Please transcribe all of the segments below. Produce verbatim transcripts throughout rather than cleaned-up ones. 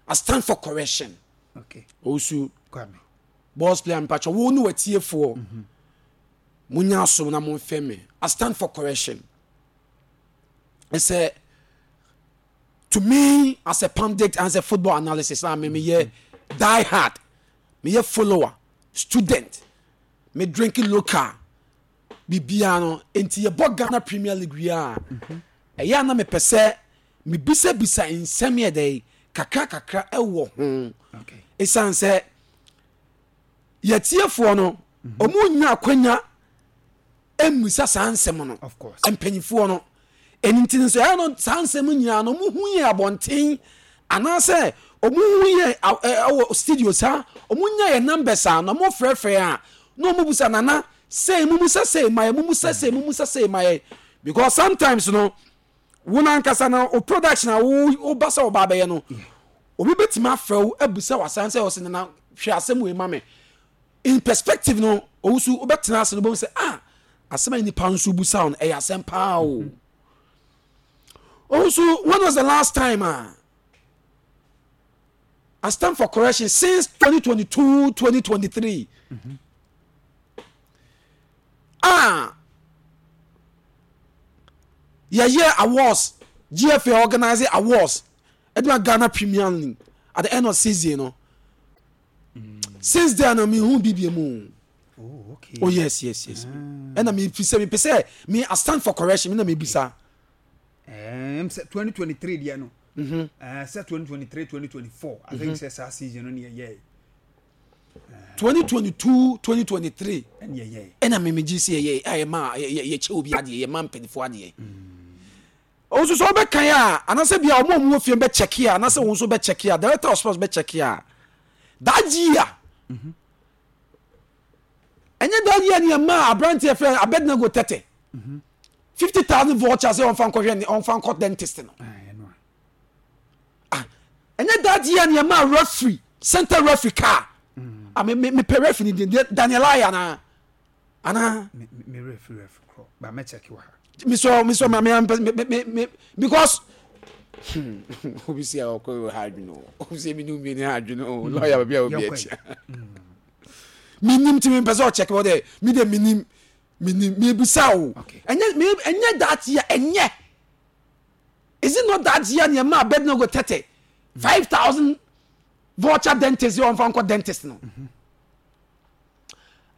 I stand for correction. Okay. Owusu. Kwame. Boss player, mpatwa wo ne watiefoɔ, munya asom na momfɛ me. I stand for correction. Ɛsɛ to me as a pundit, as a football analysis, na me meyɛ die hard, meyɛ follower, student, me drinking local biribiara no. Nti yɛbɔ Ghana Premier League wie a, ɛyɛ a na mepɛ sɛ mebisabisa nsɛm yɛ dɛ kakra kakra ɛwɔ ho. Okay. Ɛsiane sɛ yɛtiefoɔ no, ɔmo nya akwanya mmisa saa nsɛm no. Of course. Mpanyinfoɔ no ɛno nti no sɛ ɛyɛ no saa nsɛm nyinaa no, ɔmo hu yɛ abɔnten anaasɛ ɔmo hu yɛ ɛ- ɛ- ɛwɔ studio saa, ɔmo nya yɛ numbers a na ɔmo frɛfrɛ a na ɔmo busa nana sei mu musa sei ma yɛ, mu musa sei mu musa sei ma yɛ, because sometimes no, wo nankasa no o production a wo wo ba sɛ ɔba abɛyɛ no, obi bɛtumi afrɛ wo abusa wasan sɛ ɔsɛ, "Nana, hwɛ asɛm wei ma me." In perspective no, Owusu, wobɛtena ase no, wobɛhu sɛ, ah, asɛm a nipa nso busa wo no ɛyɛ asɛm paa o. Owusu, when was the last time ah, I stand for correction, since twenty twenty-two twenty twenty-three ah, yɛyɛ awards, G F A organize awards ɛde ma Ghana Premier League at the end of season no, since then no, mi hu bibie mu. Oh, okay. Oh yes yes yes ɛna mi fi sɛ mi pɛ sɛ mi, I stand for correction, mi na mi bisa. Um, sɛ twenty twenty-three deɛ no. Mhm. Uh, sɛ twenty twenty-three twenty twenty-four, I think sɛ saa season no ne yɛyɛɛ. twenty twenty-two twenty twenty-three. Ɛne yɛyɛɛ. Ɛna mi mi gye si yɛ yɛ ma yɛ yɛ kyɛ obi adeɛ, yɛ ma mpanyinfoɔ adeɛ. Ɔnso sɛ ɔbɛkan a, anaasɛ bia ɔmo a ɔmo wɔ fie bɛ check a, anaasɛ wɔn nso bɛ check a, director of sports bɛ check a, that year, ɛnyɛ that year ni ɛma aberanteɛ fɛ Abednego Tɛtɛ fifty thousand voucher sɛ ɔnfa nkɔhwɛ ne ɔnfa nkɔ dentist no? Ah, ɛno a. Ah, ɛnyɛ that year ni ɛma referee, center referee car? Ah, me me me pɛ referee ni din, Daniel Aya ana ana Me me referee referee korɔ. Ba mɛ check wɔ ha. Mesɔ mesɔ ma me me me me because hmm, obi si a ɔkɔ ha adwene o, obi si mi nu mi ni ha adwene o, lawyer baabi a obi Yɛnkɔ. akyi minim ti mi mpɛ sɛ ɔkyɛkɛ wɔ dɛ mi de minim minim mi bisa o. Okay. Ɛnyɛ mi, ɛnyɛ that year, ɛnyɛ, is it not that year ni ɛma Abednego Tɛtɛ five thousand voucher dentist yɛ ɔnfa nkɔ dentist no?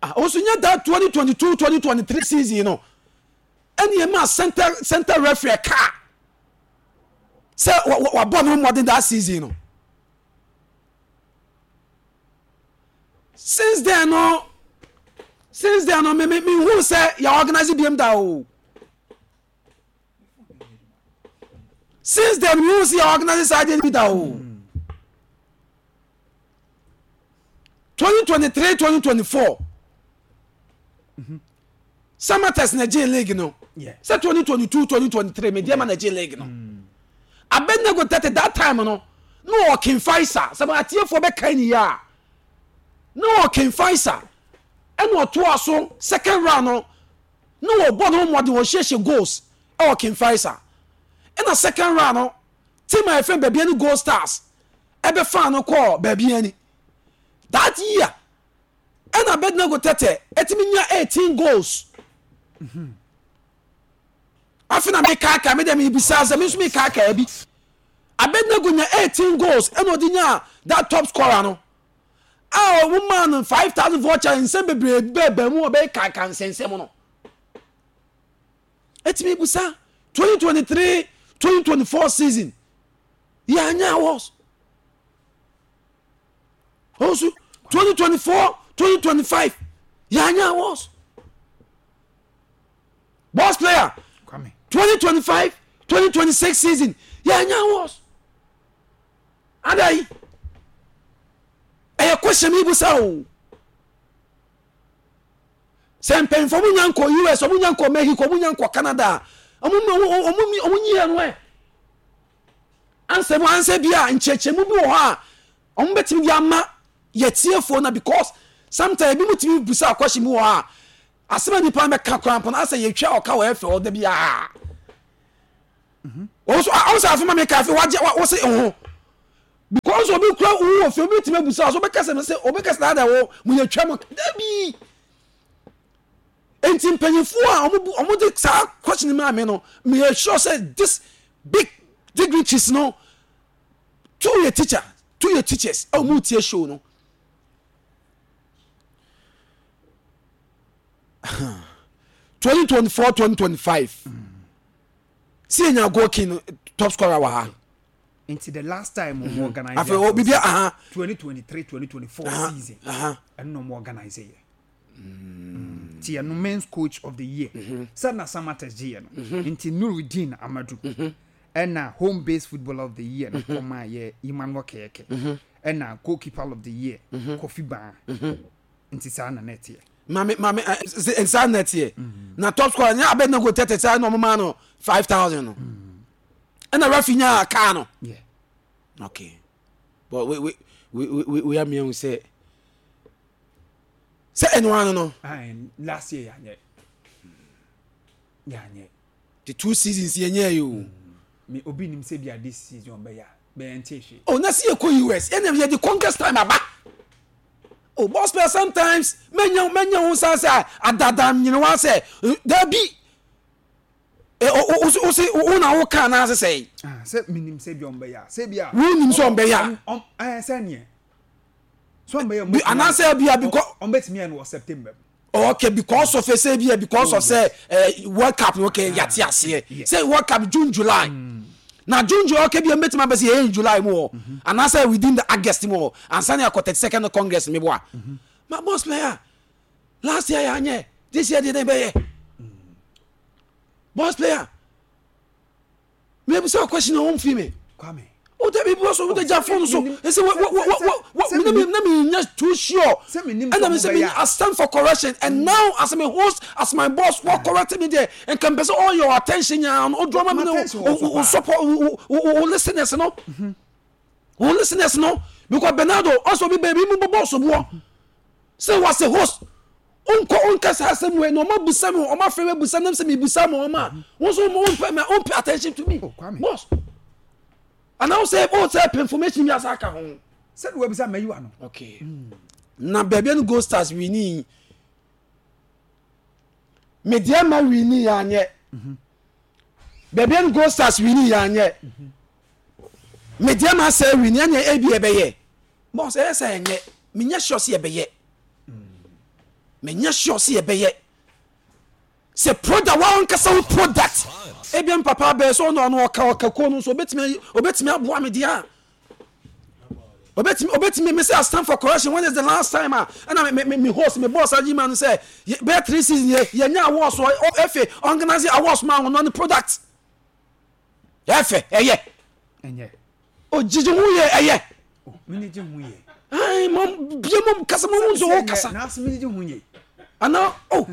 Ah, osu nyɛ that twenty twenty two twenty twenty three season no ɛni ɛma center center referee car sɛ wa- wa- wabɔ ne ho mmɔden that season no? Since then no, since then no, me me me hu sɛ yɛ organize biem da o. Since then, me hu sɛ yɛ organize saa adeɛ bi da o. twenty twenty three twenty twenty four, Samartex na gye league no. Yeah. Sɛ twenty twenty two twenty twenty three, Medeama na gye league no. Abednego Tɛtɛ that time no, na ɔwɔ King Faisal. Sɛ atiefoɔ bɛka ni yɛ a, na ɔwɔ King Faisal, ɛna ɔtoa so second round no, na wɔbɔ ne ho mmɔden, wɔhyehyɛ goals ɛwɔ King Faisal. Ɛna second round no, team a yɛfrɛ Bibiani Gold Stars ɛbɛfa no kɔɔ Bibiani that year. Ɛna Abednego Tɛtɛ ɛtumi nya eighteen goals. Afei na mekaaka me dɛ mebisa sɛ me nso mekaaka bi. Abednego nya eighteen goals, ɛna ɔde nya that top scorer no a ɔmo maa no five thousand voucher. Nsɛm bebree bɛɛbɛn mu, ɔbɛyɛ kaaka nsɛnsɛm no. Ɛtumi busa, twenty twenty three twenty twenty four season, yɛanya awards ɔnso twenty twenty four twenty twenty five, yɛanya awards. Boss player. Kwame. twenty twenty five twenty twenty six season, yɛanya awards adai. Ɛyɛ question mi busa o, sɛ mpanyinfoɔ mo nya nkɔ U S, ɔmo nya nkɔ Mexico, ɔmo nya nkɔ Canada, ɔmo ɔmo ɔmo ɔmo nyi no ɛ ansɛ mu ansɛ bi a nkyerɛkyerɛmu bi wɔ hɔ a ɔmo bɛtumi de ama yɛtiefoɔ na, because sometimes ebi mu tumi busa question bi wɔ hɔ a, asɛm a nipa no bɛka koraa mpo no, asɛ yɛtwa ɔka wɔ ɛfɛ ɔda bi a ɔwɔ so ɔwɔ sɛ afei ma mi ka afei wagye wa wɔsɛ ɛho Because obi kura wo wɔ fie, obi tumi abusa so, obɛkasa sɛ obɛkasa na ada wɔ mo yɛ twɛ mo dabi. Nti mpanyinfoɔ a ɔmo bu ɔmo de saa question maa mi no, mi yɛ sure sɛ this big dignitaries no, two yɛ teacher, two yɛ teachers a ɔmo tie show no. twenty twenty four twenty twenty five si enya goal king top scorer wɔ ha. Nti the last time ɔmo organize afei o bibi aha twenty twenty three twenty twenty four season ɛno na ɔmo organize yɛ nti ɛno men's coach of the year sɛ na Samatex gye yɛ no, nti Nurudeen Amadu, ɛna home based footballer of the year no kɔma yɛ Emmanuel Kɛyɛkɛ, ɛna goalkeeper of the year Kofi Baa. Nti saa na nɛteɛ. Maame, maame, ɛ nsa nɛteɛ na top scorer nyɛ abɛ nego tɛtɛ saa na ɔmo maa no five thousand no, ɛna referee nya kaa no. Yeah. Okay, but we we we we we amiɛn sɛ sɛ ɛnu ano no. Ayi, last year yanyɛ yanyɛ. The two seasons yɛ nyɛ yi o. Me obi nim sɛ bi a this season ɔbɛyɛ a bɛyɛ nte hwee. Oh, na si yɛ kɔ U S ɛna yɛ di congress time aba oh. Boss player, sometimes mɛnya mɛnya ho san sɛ adada nyina sɛ dabi ɛ o o o o o na o kan na sɛ. Ah, sɛ minim sɛ bi ɔmbɛyɛ a, sɛ bi a. Wo nim sɛ ɔmbɛyɛ a. Ɔm ɛɛ sɛ neɛ so ɔmbɛyɛ. Bi anaasɛ bi a because. Ɔmbɛtumi yɛ no wɔ September. Okay, because of sɛ bi because of sɛ uh, World Cup no. Okay, yate aseɛ sɛ World Cup June, July mm. na June, July. Okay, bi mbɛtumi abɛ sɛ yɛyɛ in July mu wɔ mm-hmm. anaasɛ within the August mu wɔ ansa ne akɔ thirty second congress mi bɔ a mm-hmm. Ma boss player, last year yɛ anyɛ, this year deɛ ne bɛyɛ. Boss player, mebusa question na wɔn fi mi. Kwame. O dabi, bi so o de gya phone so ese wo wo wo wo wo na mi na mi nya too sure, ɛna mi sɛ mi I stand for correction, and now as my host, as my boss wɔ correct me there, nka mpɛ sɛ all your attention nya o draw ma mi na o o support o o o listeners no, o listeners no, because Bernardo ɔsɔ bi baabi mu bɔ bɔɔso boɔ sɛ was a host nkɔ nkasa asɛm wei na ɔma busa mi, ɔma fɛ mi busa nam sɛ mi busa ma ɔma wɔn nso wɔn mpɛ ma wɔn pay attention to me. Boss, ana sɛ o sɛ pɛ information bi asa aka ho. Sɛde wabisa mayiwa no. Okay, na baabi no Gold Stars win, Medeama win yɛ anyɛ, baabi no Gold Stars win yɛ anyɛ, Medeama sɛ win ɛnyɛ, ebi ɛbɛyɛ. Boss, ɛyɛ sɛ ɛnyɛ, menyɛ sure sɛ yɛbɛyɛ, menyɛ sure sɛ yɛbɛyɛ sɛ product wa nkasa wo product ebi m papa bɛɛ sɛ ɔno ɔno ɔka ɔka kuo no nso obetumi obetumi aboa me deɛ a obetumi obetumi me sɛ I stand for correction. When is the last time a ɛna me me me host, me boss ayi ma no sɛ bɛyɛ three season yɛ yɛnya awards wɔ efe organize awards ma wɔn ne product ɛfɛ ɛyɛ. Ɛnyɛ. O gyigyi ho yɛ ɛyɛ. Mene gye ho yɛ. Ayi mo bie mo kasa mo nso wo kasa. N'ase mene gye ho yɛ. Ana o.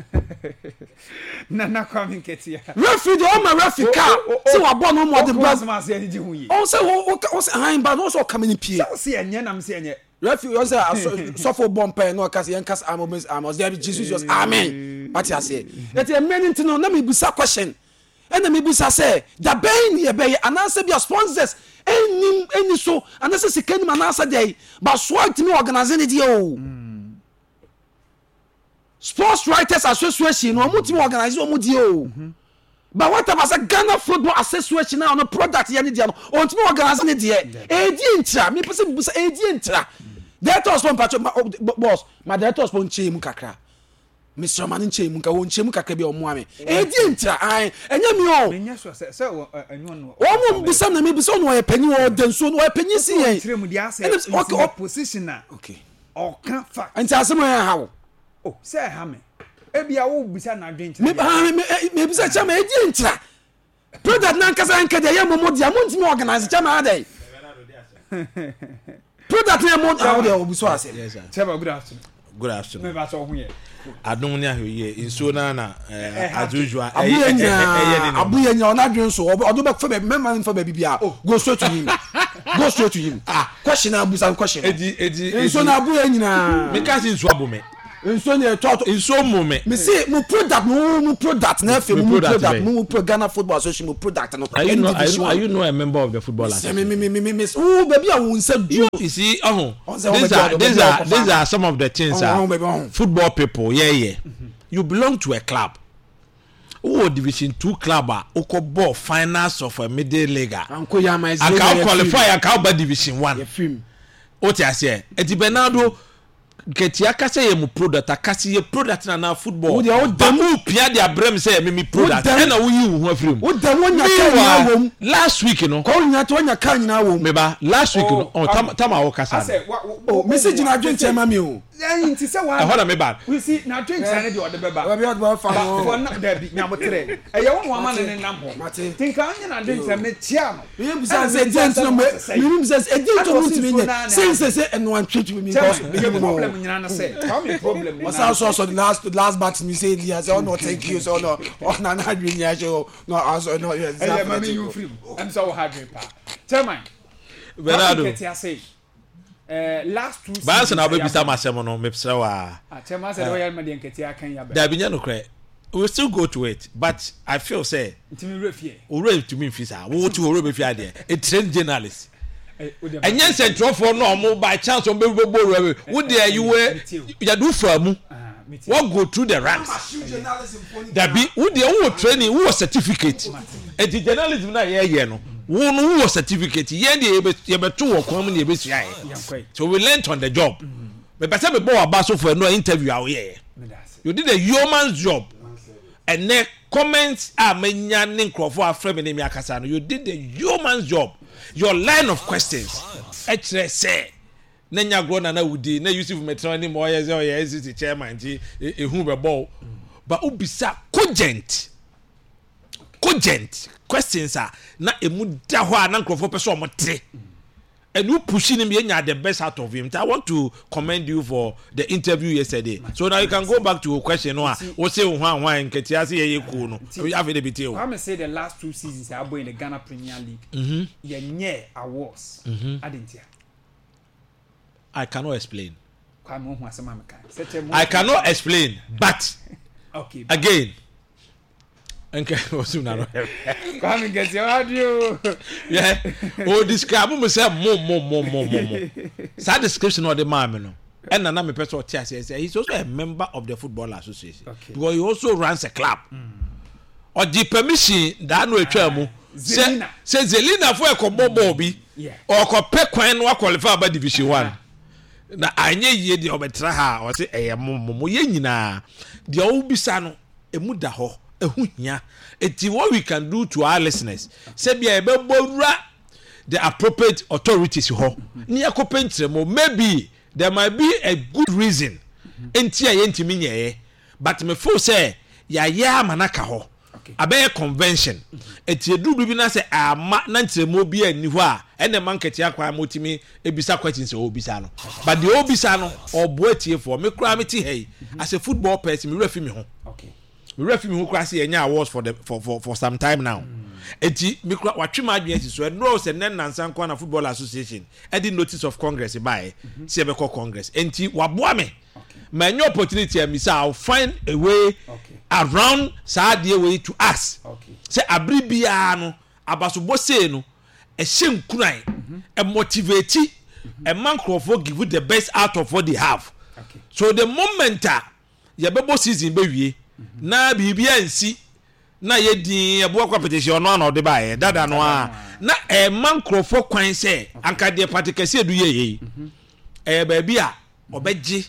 Nana Kwame Nketia. Referee de ɔma referee kaa sɛ wabɔ no ɔmo ɔde ba. Ɔkò asɛm ase ɛni gye ho yie. Ɔn sɛ o o sɛ ahan ba n'ɔsɛ ɔka mi ni pie. Sɛ ɔsi ɛnyɛ nam sɛ ɛnyɛ. Referee ɔn sɛ sɔfo bɔ mpae na ɔka sɛ yɛn kasa amen amen, ɔsɛ ɛbi Jesus Jesus amen, wate aseɛ. Eti ɛmɛ ni ti no na mi busa question, ɛna mi busa sɛ dabɛn ni yɛbɛyɛ anaasɛ bi a sponsors ɛnim ɛni so anaasɛ sika nim anaasɛ deɛ ba soa ntumi organize ne deɛ o. Sports Writers Association no, ɔmo tumi organize ɔmo deɛ o, but what about sɛ Ghana Football Association a ɔno product yɛ ne deɛ no, ɔntumi organize ne deɛ? Edi ntira mi pɛ sɛ mi busa, edi ntira. Director of sport, mpatso boss, ma director of sport nkyɛn mu kakra, mesrɛ ma ne nkyɛn mu nka wɔn nkyɛn mu kakra bi a ɔmo ame edi ntira ayi ɛnyɛ mi o. Menyɛ sure sɛ sɛ ɛnyɛ ɔno. Wɔn mo busa na mi busa, ɔno ɔyɛ panyin, ɔda nsuo no, ɔyɛ panyin si yɛn. Ɔkyerɛ mu deɛ asɛ ɛna position a okay ɔka fact. Nti asɛm yɛn ha wo. O sɛ ɛha me, ebi a wo bisa n'adwen kyerɛ. Me me me bisa kyerɛ me, edi ntira product nankasa nka deɛ yɛ mo mo deɛ mo ntumi organize kyɛ ma adɛ product yɛ mo awo deɛ obi so ase. Yes, sir. Chairman, good afternoon. Good afternoon. Me ba sɛ ɔho yɛ. Adum ni ahwɛ yie, nsuo naa na as usual. Abuya nyinaa, abuya nyinaa, ɔno adwene so ɔdo bɛ fɛ baabi mɛma nfa baabi bia, go straight to him, go straight to him. Question na abusa question. Edi edi. Nsuo na abuya nyinaa. Mi ka si nsuo abo mi. Nsuo ni ɛtɔ ato. Nsuo mu me. Me se mo product, mo mo product na afei Me mo mo product product bɛn? mo mo pro Ghana Football Association mo product no. Are you Ɛne not are division you, are one. you not a member of the football Sɛ me association? me me me me me wo baabi a wo nsa You, duro. you see, oh, Ɔn sɛ these ɔbɛbi are a these ɔbɛbi a are ɔkɔfa these no. are some of the things Ɔn ah ɔn baabi ɔn. football people, yeah yeah. You belong to a club. Wowɔ division two club a wokɔ ball finals of a middle league a Anko yɛ ama ɛsɛ anka wo qualify, anka woba division one. Yɛ film. Wote aseɛ? Eti Bernardo Nketia kasa yɛ mu product akasi yɛ product na na football. Wo deɛ, wo ba mu pia de abrɛ mi sɛ yɛ mi mi product dɛm. ɛna woyi wo ho afiri mu. Wo dɛm wonya kaa nyinaa wɔ mu. Meanwhile, last week no Kɔ wonya to wonya kaa nyinaa wɔ mu. meba last week no Oh, ɔ tam tam a wɔkasa no Asɛ wa wa. O mesi gyina adwenkyɛn ma mi o. Ɛyin ti sɛ wa. Ɛhɔ na meba. You see, na adwenkyɛn ne deɛ ɔde bɛba. Baabi a ɔde bɛfa Ba no. for na dabi nyabotrɛ ɛyɛ wɔn wɔn ama ne ne nam hɔ. Mate. Tinka ɔnyɛ na adwenkyɛn mɛ kyia no. Mi bisa sɛ ɛdi nti na mi mi bisa sɛ ɛdi nti na ntumi nyɛ sɛ nsɛ sɛ ɛnu antwitwi mi Chairman, nkɔ yɛ problem nyinaa no sɛ Kwame problem nyinaa. Ɔsan sɔ sɔ the last the last batch mi sɛ elias ɔnɔ thank you sɛ ɔnɔ ɔna n'adwi ni ahyɛ o na ɔsɔ ɔnɔ yɛ Ɛyɛ ma mi yi firi mu ɛm sɛ wɔ ha adwene paa, chairman. Bernardo. Kwame Nketia sɛ ɛɛ last two Baasa na seasons wobɛbisa ma asɛm no, mesrɛ wo a. Ah, chairman, sɛ de wɔyɛ ma deɛ Nketia kan yɛ abɛ. Dabi, nyɛ nokorɛ, we still go to it, but I feel sɛ Ntumi wura fie. Owurɛ ntumi nfi saa wo ti owurɛ bɛfi adeɛ, a trained journalist. Ɛ o deɛ Ɛnyɛ nsɛntwerɛfoɔ no a ɔmo by chance ɔmo bɛ bɛ bɔ owurɛ bi wo deɛ, you were yɛde wo fa mu. Ah, mi ti. Wɔn go through the ranks dabi, wo deɛ wowɔ training, wowɔ certificate, eti journalism na yɛyɛ no, wo no wowɔ certificate, yɛn deɛ yɛbɛ yɛbɛto wɔ kwan mu na yɛbɛsua yɛ. Yɛn kɔ yi. So we learnt on the job. Mepɛ sɛ mebɔ waba so for ɛno interview a woyɛyɛ. Mi da ase. You did a yeoman's job. Ɛnɛ comments a menya ne nkurɔfoɔ afrɛ me ne mi akasa no, you did the yeoman's job. Your line of questions ɛkyerɛ sɛ na nya agorɔ nana wudi na Yusuf mɛtena anim ɔyɛ sɛ ɔyɛ N C C chairman nti e- ehu bɛbɔ o, but obisa cogent cogent questions a na emu da hɔ a na nkurɔfoɔ pɛ sɛ ɔmo te, and you pushing him, yɛnya the best out of him. I want to commend you for the interview yesterday. So now you can go back to your question no a wo se wo hwan hwan Nketia se yɛyɛ kuo no afei de bi te o. Kwame say the last two seasons abɔ in the Ghana Premier League. Yɛn nyɛ awards. Adentia. I cannot explain. Kwame, ohun asɛm a meka. Sɛ kyɛ mo. I cannot explain, but Okay. again nka osum na no. Kwame Nketia wa di o. Yeah, o describe mo sɛ mo mo mo mo mo mo saa description na ɔde maa mi no, ɛna na mepɛ sɛ ɔte aseɛ sɛ he is also a member of the football association Okay. because he also runs a club. Ɔgye permission daa no atwa mu sɛ Zelina. Sɛ Zelina fo ɛkɔbɔ bɔɔl bi, Yeah. ɔkɔpɛ kwan no aqualify aba division one na anyɛ yie deɛ, ɔbɛtena ha a ɔsɛ ɛyɛ mo mo mo yɛ nyinaa deɛ ɔwobisa no emu da hɔ, ɛho hia. Eti what we can do to our listeners, sɛbi a yɛbɛbɔ wura the appropriate authorities hɔ ne yɛkɔpɛ nkyerɛmu. Maybe there might be a good reason nti a yɛntumi nyɛɛ, but me feel sɛ yɛayɛ ama n'aka hɔ. Okay. Abɛyɛ convention eti eduru bibi na sɛ ama na nkyerɛmu bi ani hɔ a, ɛna ɛma Nketewa kwan ma otumi ebisa questions a ɔbisa no, but deɛ ɔbisa no ɔboa tiefoɔ. Me koraa me ti ha yi as a football person, me wura fi mi ho. Okay. Me wura fi mi ho koraa sɛ yɛnya awards for the for for for some time now. Eti me kura watwe mu adwene si so ɛnura sɛ nɛ nansa nkwa na football association ɛde notice of congress baeɛ sɛ yɛbɛkɔ congress, enti waboa me ma ɛnyɛ opportunity a misa, I will find a way Okay. around saa adeɛ wei to ask Okay. sɛ abiri biara no abasobɔ sei no ɛhyɛ nkuran, ɛmotivate, ɛma nkurɔfoɔ give the best out of what they have. Okay. So the moment a yɛbɛbɔ season bɛwie na biribi ansi na yɛdin ɛboa competition ɔno ana ɔde baayɛ dada no a na ɛma nkurɔfoɔ kwan sɛ anka deɛ Patrick Asiedu yɛ yɛ yi ɛyɛ baabi a ɔbɛgye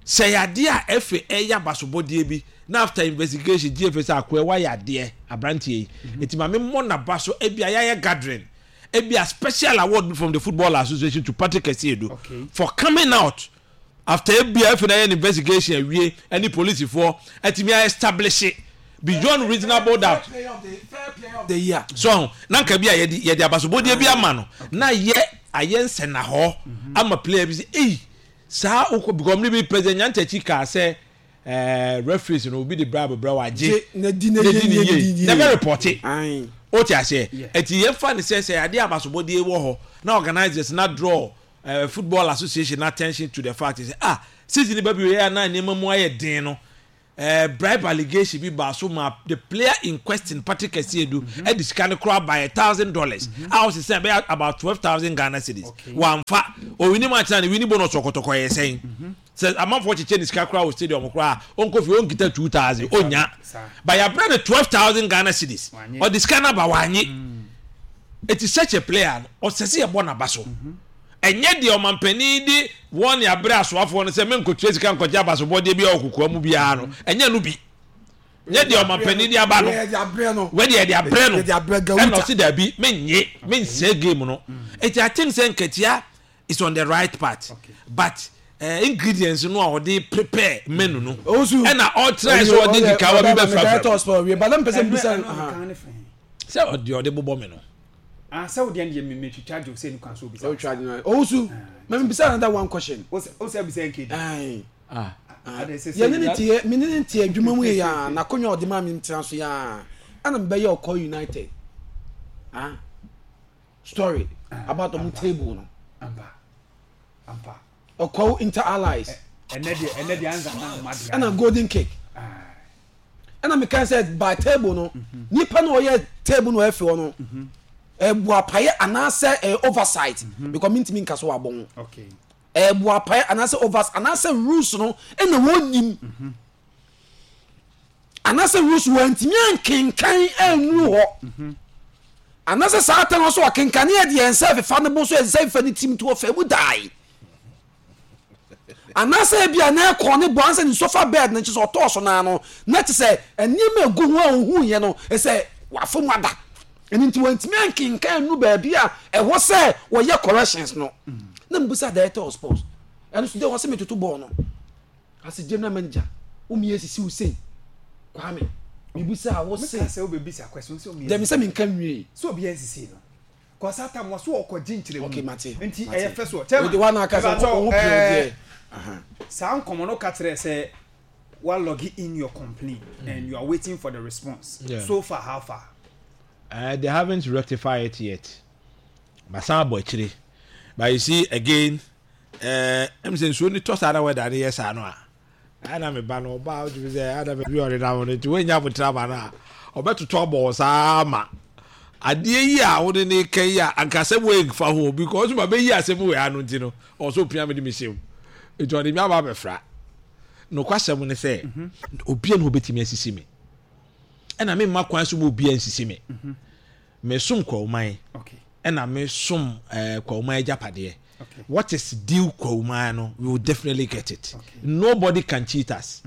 sɛ yadeɛ a ɛfɛ ɛyɛ abasobɔdeɛ bi na after investigation G F A sɛ akoɛ wayɛ adeɛ aberanteɛ yi, eti maame mmɔ n'aba so, ebi a yɛayɛ gathering, ebi a special award from the football association to Patrick Asiedu Okay. for coming out after ebi a ɛfɛ na yɛ investigation awie ɛne polisifoɔ ɛtumi a establish beyond reasonable doubt. Player of the fair player of the year. So na nka bi a yɛde yɛde abasobɔdeɛ bi ama no na yɛ ayɛ nsɛnahɔ ama player bi sɛ eyi saa okɔ because ɔmo bi President Nyantakyi kaa sɛ ɛɛ referees no obi de bribe brɛ wa gye. Gye na di na na ye di ne ye yie di na bɛ report. Ayi. O ti aseɛ? Yeah. Eti yɛn fa ne sɛ sɛ adeɛ abasobɔdeɛ wɔ hɔ na organisers na draw uh, Football Association attention to the fact sɛ, ah, season ba bi wei a na nneɛma mu ayɛ den no, uh, bribe allegation bi ba so ma the player in question, Patrick Asiedu, ɛde sika no koraa by a thousand dollars a ɔsɛ bɛyɛ about twelve thousand Ghana cedis. Okay. Wamfa owini mu akyerɛ ne wini bonus, ɔkɔtɔkɔ yɛ sɛn sɛ amanfoɔ kyekyɛ ne sika koraa wɔ stadium koraa, ɔnkɔ fie ɔnkita two thousand ɔnya. Saa. But yɛabrɛ no twelve thousand Ghana cedis. Wanye. Ɔde sika no aba, wanye. Eti such a player no, ɔsɛ sɛ yɛbɔ n'aba so. Ɛnyɛ deɛ ɔmampanin de wɔn ne abrɛ asoafoɔ no sɛ menkɔtua sika nkɔgye abasobɔdeɛ bi a ɔkokoa mu biara no, ɛnyɛ no bi nyɛ deɛ ɔmampanin de aba no. Yɛde abrɛ no. Wɛde yɛde abrɛ no. Yɛde abrɛ Gawuta. Ɛna ɔsi dabi, menye mensɛ game no. Eti I think sɛ Nketia is on the right path. Okay. But uh, ingredients no a ɔde prepare menu no, Owusu. ɛna ɔtry sɛ ɔde nkekawa bi bɛfrafra. Sport wie bala mpɛ sɛ mbisa. Ɛno- ɛno kan ne fɛn. Sɛ ɔde ɔde bobɔ me no. Ah, sɛ wodeɛ no deɛ me- metwitwa gye wo sɛ ne kwan so obisa. Owusu, mɛ mbisa another one question. Wo sɛ wo sɛ bisa nkedi. Ayi. Ah. Ade sɛ sɛ Yɛne ne tie, mene ne tie adwuma mu yɛ yaa n'akonnwa a ɔde maa mi ntena so yaa, ɛna mebɛyɛ ɔkɔ United, ah, story about ɔmo table no. Ampa ampa. Ɔkɔ Inter Allies. Ɛnɛ deɛ ɛnɛ deɛ ansa na ama deɛ. Ɛna Golden Kick, ɛna meka sɛ by table no, nipa na ɔyɛ table no ɛfɛ hɔ no, ɛbu apaeɛ anaasɛ ɛyɛ oversight, because mintimi nka so wɔ abɔn. Okay. Ɛbu apaeɛ anaasɛ oversight anaasɛ rules no ɛna wɔn nim anaasɛ rules wɔntumi ankenkan anuru hɔ, anaasɛ saa tɛn so ɔkenkan yɛ deɛ nsa fefa ne bo so, nsa fefa ne tim to ɔfɛ mu dae, anaasɛ ebi a na ɛkɔ ne bɔ ansa ne sofa bed ne nkyɛn sɛ ɔtɔɔ so naa no, na te sɛ nneɛma egu ho a ohun yɛ no sɛ wafɔ mu ada, ɛno nti wɔntumi ankenkan nu baabi a ɛwɔ sɛ wɔyɛ corrections no. Na mbusa director of sports, ɛno so de wɔ sɛ metoto bɔɔl no as general manager, womi esisi wo sei, Kwame, mibusa a wɔ meka se sɛ wobɛbisa question sɛ omi dɛmi sɛ minka nwie. Sɛ obi ansisi no kɔsa tam wɔ so ɔkɔgye nkyerɛ. Okay, mate. Nti mate. ɛyɛ fɛ so. Wode wa na aka sɛ wo ho pii deɛ. Saa nkɔmmɔ no ka kyerɛ sɛ wa log in your complaint and you are waiting for the response. Yeah. So far, how far? Uh, they haven't rectified it yet. Masan abɔ akyire. But you see again, ɛm sɛ nsuo ni tɔ saa na wɛda ne yɛ saa no a, ɛna me ba no ɔba a wotumi sɛ ɛna baabi a ɔde nam no nti woanya abotire ama no a, ɔbɛtoto abɔ wɔ saa ma adeɛ yi a wode ne ka yi a, anka asɛm wei nfa ho, because ma bɛyi asɛm wei ano nti no, ɔsɛ opia me de me hyɛm, nti ɔde mi aba abɛfra. Nokwasɛm ne sɛ obia na obɛtumi asisi me, ɛna memma kwan so ma obia nsisi me. Mesom Kwawuman. Okay ɛna mesom ɛɛ Kwawuman agyapadeɛ. Okay what is due Kwawuman no, we will definitely get it. Okay. Nobody can cheat us.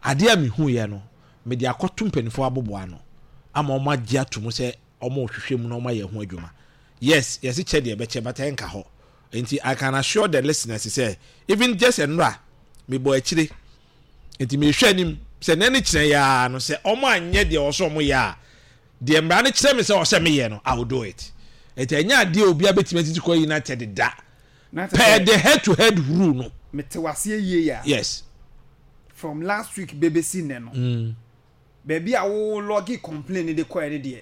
Adeɛ a mehu yɛ no, mede akɔto mpanimfoɔ aboboa ano ama wɔn agye ato mu sɛ wɔn rehwehwɛ mu na wɔn ayɛ ho adwuma. Yes, yɛsi kyɛ deɛ ɛbɛkyɛ, but ɛnka hɔ. Nti I can assure the listeners sɛ even just nnora mebɔ akyire, nti mehwɛ anim sɛ n'ani kyerɛ yaa no sɛ wɔn anyɛ deɛ ɔsɔ wɔn yɛ a, deɛ mmara no kyerɛ me sɛ ɔsɛ meyɛ no, I will do it. Nti ɛnyɛ adeɛ a obiara bɛtumi atiti kɔ United da na kyerɛ per sɛ the head to head rule no. Mete waseɛ yie a, yes from last week bɛbɛsi nnɛ no, mm. baabi a wo log complain de kɔɛ ne deɛ,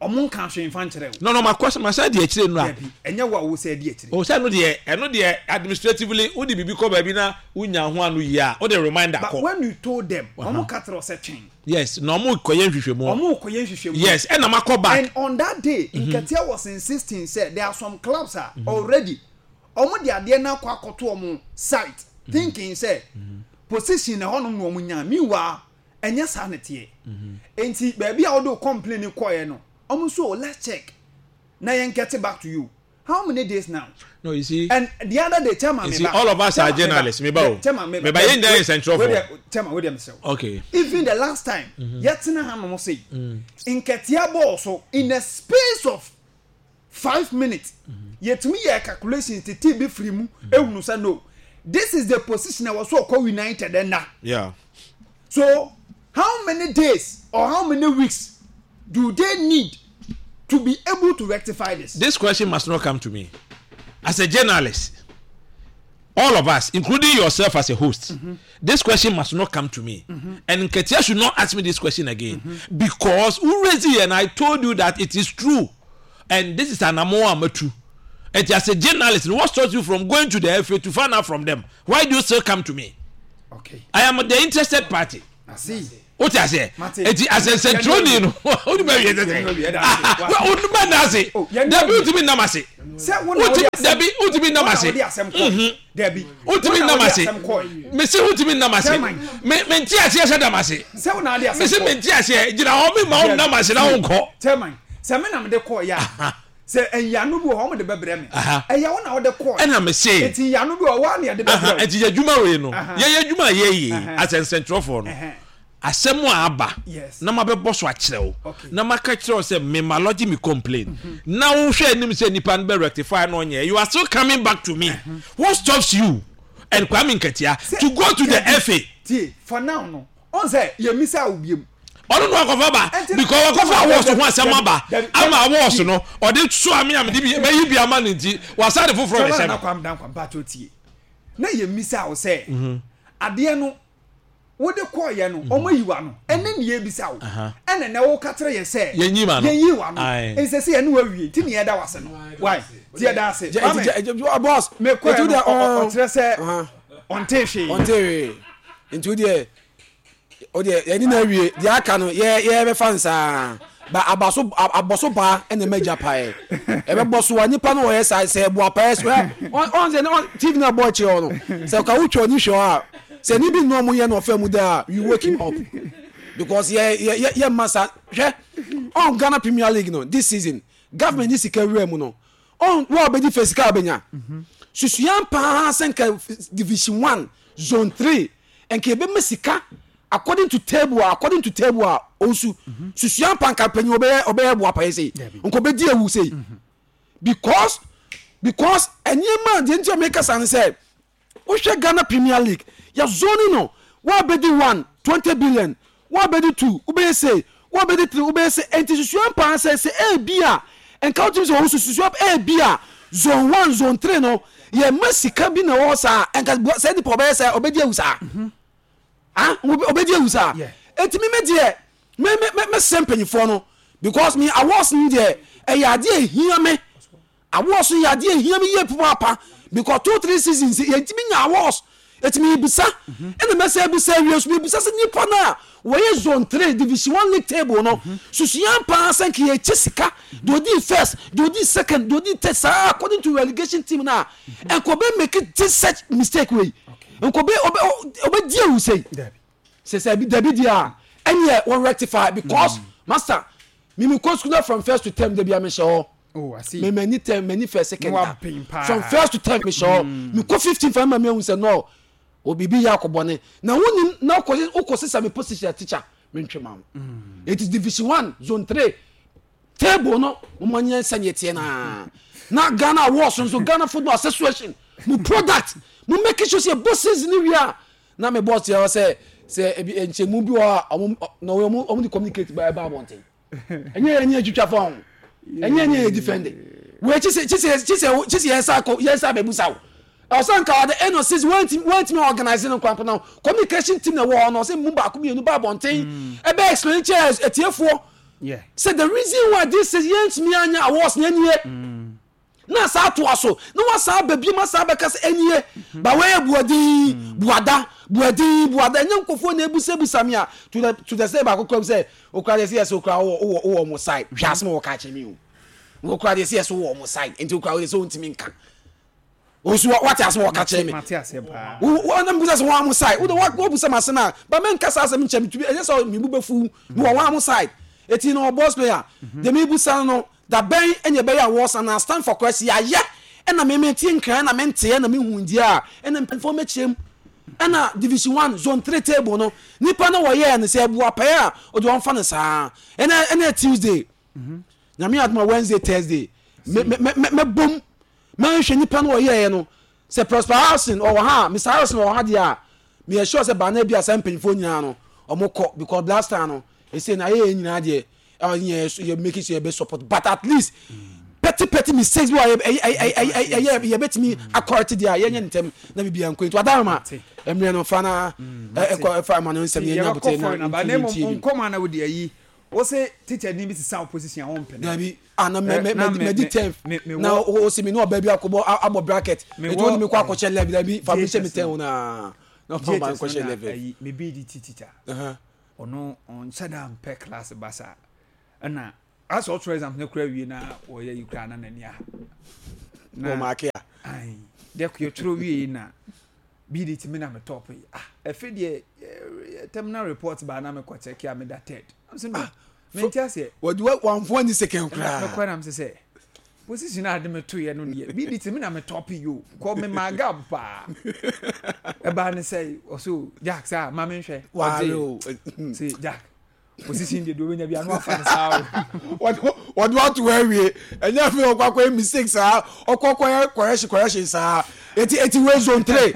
ɔmo nka hwee mfa nkyerɛ wo? no no makɔ masan di akyire no a. Dabi, ɛnyɛ wo a wo sɛ di akyire. O, sɛ ɛno deɛ ɛno deɛ administratively wode biribi kɔ baabi na wonya ho ano yie a, wode reminder But kɔ. when you told them, ɔmo ka kyerɛ wo sɛ twɛn. Yes, na ɔmo kɔyɛ nhwehwɛmu. Ɔmo kɔyɛ nhwehwɛmu. Yes, ɛna makɔ back. And on that day, Nketia was insisting sɛ there are some clubs a already ɔmo de adeɛ no akɔ akɔto ɔmo site, thinking sɛ position na ɛhɔnom na ɔmo nya. Meanwhile, ɛnyɛ saa ne teɛ. Nti baabi a wɔde o complain kɔɛ no, ɔmo nso, "Let's check na yɛn get back to you." How many days now? No, you see, And the other day, chairman, You see, all of us are journalists, meba o. Chairman, Meba, yɛn nyinaa yɛ nsɛntwerɛfoɔ. Chairman, wait there, mesrɛ. Okay even the last time yɛtena ha nom sɛ Nketia bɔɔl so, in a space of five minutes yɛtumi yɛ calculations tete bi firi mu ehunu sɛ no, this is the position a wɔso ɔkɔ United ɛna. Yeah so how many days or how many weeks do they need to be able to rectify this? This question must not come to me as a journalist. All of us, including yourself as a host, mm-hmm. this question must not come to me. Mm-hmm. And Nketia should not ask me this question again. Mm-hmm. Because already, and I told you that it is true. And this is an amo amatu. Eti as a journalist, what stops you from going to the F A to find out from them? Why do you still come to me? Okay. I am the interested party. I see. What I say? Eti as a centroni no. Who do you say? Who do you say? Debi utimi namase. Debi utimi namase. Debi utimi namase. Me se utimi namase. Me me nti ase ase damase. Me se me nti ase. Jina ho me ma namase na wonko. Chairman, se me na me de call ya. Se enyanu bi ho me de bebre me. Eya wo na wo de call. E na me se. Eti yanu bi ho wa na de bebre. Eti yadwuma we no. Ye yadwuma ye ye as centrofo no. Asemu aba na ma bebo so akyerew na ma ka kyerɛ sɛ me malodge me complain na wo hwɛ anim sɛ nipa no be rectify no onye. You are still coming back to me. Mm-hmm. What stops you and Kwame Nketia to go to the F A? T for now no on say ye misa obiem ono no akofa ba because akofa awards ho asem aba ama awards no ode so ame am de bi yi bi ama nti wasade foforo de sem na kwam dan kwam ba to tie na ye misa wo sɛ ade no wo de call ye no omo yiwa no ene ne ye bisa wo ene na wo ka kire ye se ye nyi ma no ye yiwa no ense se ye ne wa wie ti ne ye da wase no why ti ye da ase boss me ko o kire se on te hwe on te hwe nti de o de ye ni na wie de aka no ye ye be fa nsa ba abaso aboso ba ene major pae e be boso wa nipa no ye sai se bo pae so on se T V na boy che ono se ka wo twa ni hwe a se ni bi no mo ye no fa mu da you wake him up because ye ye ye massa hwe on Ghana Premier League no this season government ni sika wura mu no on wo be di face ka benya susuan pa senka division one zone three enke be mesika according to table according to table onsu susuan pa nka panyin obe obe bo apa sei nko be di ewu sei because because any man dey nti make us say wo hwe Ghana Premier League ya zone no wa be di one twenty billion wa be di two ube say wa be di three ube say enti susuan pa say say e bi a enka utim say susuan e bi a zone one zone three no ye masika bi na wo sa enka say di po be say obedi ewu sa ah obedi ewu sa enti me me de me me me sempenyifo no because me awards ni de e ya de ehia me awards ya de ehia me ye papa because two three seasons ye ntimi nya awards eti bisa ene me se bisa wie so bisa se nipa na wo ye zone three division one league table no susuan pa san ki ye chisika do di first do di second do di third according to relegation team na en ko be make it such mistake way en ko be obe di ewu sei se se bi dabi dia en ye won rectify because master me me ko school from first to ten de bia me show. Oh, I see. Me many ten many first second from first to ten me show me ko fifteen fa ma me hu say no obibi ya akobone na woni na okosisa me position teacher me ntwema it is division one zone three table no mo manye sanye tie na na Ghana awards so Ghana Football Association mo product mo make sure say bosses ni wi a na me boss ya say say ebi enchemu bi wa na omo omo communicate by ba bonten enye enye twitwa phone enye enye defend we chise chise chise chise yesa yesa bebusa wo Osan ka the end of season went went me organizing no kwampo na communication team na wo no say mu ba ko mienu ba bonten e be explain chairs etiefo. Yeah. Say the reason why this is yent me anya awards na anie. Na sa to aso na wa sa ba bi ma sa ba ka say anie ba we buadi buada buadi buada nya nkofo na ebusa busa me a to the to the say ba kokwa say okra dey say yes okra wo wo wo side hwa asem wo ka che me o okra dey say yes wo mo side enti okra dey say ontimi nka osu what as wo ka che me wo na mbusa so wo am side wo wo busa ma na ba men ka sa asem nche me tubi enye so me bu befu me wo am side eti no boss player de me busa no da ben enye be ya wo na stand for question ya ye e na me me ti nkran na me nte na me hundi a e na mpefo me chem e na division one zone three table no nipa na wo ye no se bu apa a o de won fa no saa e na e na Tuesday na me adma Wednesday Thursday me me me bom man hwe nipa no ye no se Prosper Housing or ha Mister Housing or ha dia me sure se ba na bia se mpanyimfo nyina no omukọ because last time no e say na ye nyina de eh you make it your best support but at least petty petty mistakes wey eh eh bet me according there ye nye ntem na bibia nko nto adarma emre no fa na e fa ma no nsem ye nya bote na na nkoma na wo de ayi Wo se teacher ni bi sisa opposition a wɔmpene. Dabi, ah, na me Eh, me na me me- me di me- tenth me- me na wɔ- o si mi ne ɔbaa bi akɔbɔ abɔ bracket. Me Etu wɔ- o ni mi kɔ akɔhyɛ eleven. Dabi, fa mi hyɛ mi J H S ten no. o na na fa ma J H S nkɔhyɛ no na eleven. ayi me bi di ti teacher. Uh-huh. Ɔno ɔnhyɛ da mpɛ class basa, ɛna asɛ ɔtwerɛ exam no kora wie na wɔyɛ yi koraa na n'ani aha. Wɔ maake a. Ai, deɛ yɛtwerɛ wie na bi di ti mi na me top yi, ah, ɛfɛ deɛ eh, terminal report baa na mekɔ check a, meda third. I'm saying no, mente aseɛ. Wɔde wa wɔnfo ani second koraa. Mekɔ na mesɛ sɛ position a ade me toyɛ no deɛ, bi di ti mi na me top yi o, kɔ me ma gap paa. Ɛbaa ne sɛ ɔso Jack sɛ a ma menhwɛ. Waare Ɔgye. o. Sɛ Jack, position deɛ deɛ wobɛnya bi ano afa ne saa o. wɔde wɔde wato hɔ awie, ɛnyɛ afei ɔkɔ akɔyɛ mistake saa, ɔkɔ akɔyɛ correction correction saa. eti eti wei zone three,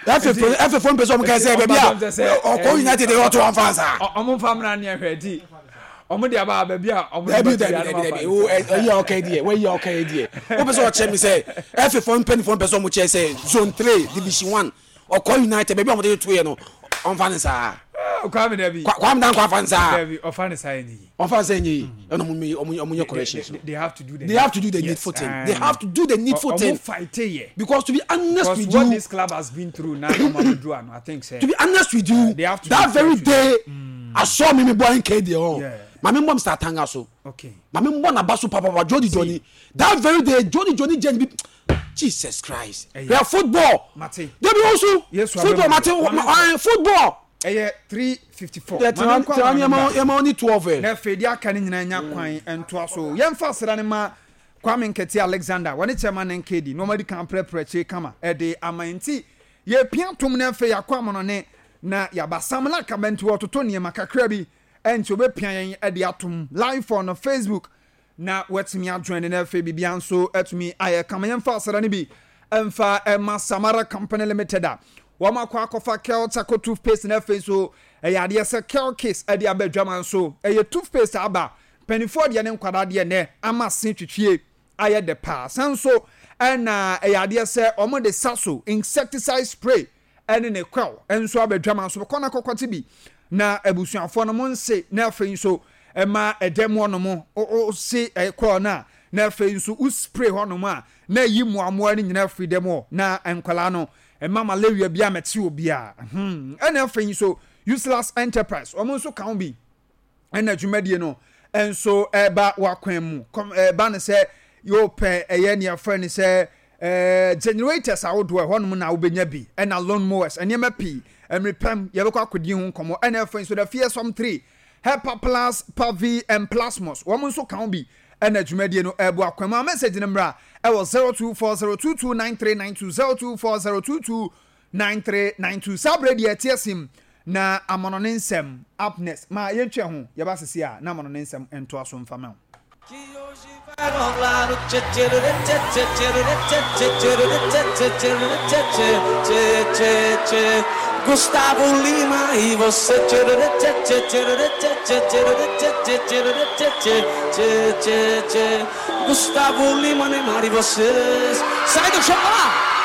ɛfɛ ɛfɛ fo mpɛ sɛ ɔmo kɛ sɛ baabi a ɔkɔ United de ɔto wɔn fa saa. Ɔ- ɔmo nfa mmra ne ɛhwɛ ti ɔmo de aba baabi a ɔmo de Dabi. bɛto Dabi. bi ano Dabi. afa Dabi ne o saa. ɛyi a ɔka yi deɛ, wɔyi a ɔka yi deɛ, wopɛ sɛ ɔkyerɛ mi sɛ ɛfɛ fo mpanyinfoɔ mpɛ sɛ ɔmo kyerɛ sɛ zone three, division one, ɔkɔ United baabi a ɔmo de to yɛ no, ɔnfa ne saa? Ah, Kwame, dabi. Kwa- kwame Danko afa ne saa? Dabi, ɔfa ne saa yɛ ne yi. Ɔnfa ne saa nye yi, ɛna ɔmo mi ɔmo ɔmo nyɛ corrections they, no. they, they have to do the They have to do the yes, needful thing. um, They have to do the needful ɔ- thing. Ɔmo fight yɛ. Because to be honest because with what you, this club has been through now, ɔmo abɛduru ano, I think sɛ to be honest with you, they have to that be very fair to day I saw me me boy N K there oh. Yeah. Maame mbɔ Mister Atanga so. Okay maame mbɔ n'aba so papapa. Jody Johnny, that very day Jody Johnny jẹ́ bi, Jesus Christ. Ɛyɛ. Yɛ football. Mate. Debi osu. Yesu football abɛmu. mate. Mame uh, football. Ɛyɛ three fifty four. Yɛ tiwa tiwa ni yɛma yɛma oni twelve ɛ. Na afei deɛ aka no nyinaa nya kwan ntoa so. Yɛmfa asra no ma Kwame Nkɛte Alexander, wɔne chairman N K D na ɔmadi kan prɛprɛ kyire kama ɛde ama. Nti yɛpia tom no, afei yɛakɔ amonɔne na yɛaba Samla kaba. Nti wɔtoto nneɛma kakra bi, ɛnti wɔbɛpia yɛn ɛde atom live on Facebook na watumi ajoin ne, na afei biribia nso atumi ayɛ kama. Yɛmfa asra no bi ɛmfa ɛma Samara Company Limited a wɔn akɔ akɔfa Kel Charcoal toothpaste, na afei nso ɛyɛ adeɛ sɛ Kel Case ɛde aba adwama nso ɛyɛ toothpaste aba, mpanimfoɔ deɛ ne nkwadaa deɛ, nɛ ama se twitwie ayɛ dɛ paa. San so ɛna ɛyɛ adeɛ sɛ wɔn de Saso insecticide spray ɛne ne kɔl nso aba adwama nso kɔ na kɔkɔte bi na abusuafoɔ no mo nse, na afei nso ɛma ɛdɛm hɔnom o se ɛkɔl no a, na afei nso o spray hɔnom a, na ɛyi mmoamoa no nyinaa firi dɛm hɔ na nkwadaa no ɛma malaria bi a mɛte obiara hmm ɛna afei nso Useless Enterprise, wɔn nso ka ho bi ɛna dwumadie no nso ɛba wakwan mu kɔm. Ɛba no sɛ yɛpɛ ɛyɛ nea fɛ no sɛ ɛɛ generators ahodoɔ, ɛhɔnom na wobɛnya bi, ɛna lawn mowers, nneɛma pii. Mmerepɛm yɛbɛkɔ akɔdi ho nkɔmmɔ. Ɛna afei nso the fearsome three, Hepa Plus, Pavi and Plasmos, wɔn nso ka ho bi ɛna dwumadie no ɛɛbo akwan mu. A message no mmra ɛwɔ zero two four zero two two nine three nine two, zero two four zero two two nine three nine two. Saa berɛ deɛ ɛteɛ sim na amanɔne nsɛm up next ma yɛntwa ho. Yɛba sisi a na amanɔne nsɛm ntoa so mfa ma wo. Que hoje vai rolar o tchê tchê tchê tchê tchê tchê tchê tchê tchê tchê tchê tchê tchê Gustavo Lima e você, tchê tchê tchê tchê tchê tchê tchê tchê tchê tchê tchê tchê Gustavo Lima, Neymar e vocês. Sai do chão lá!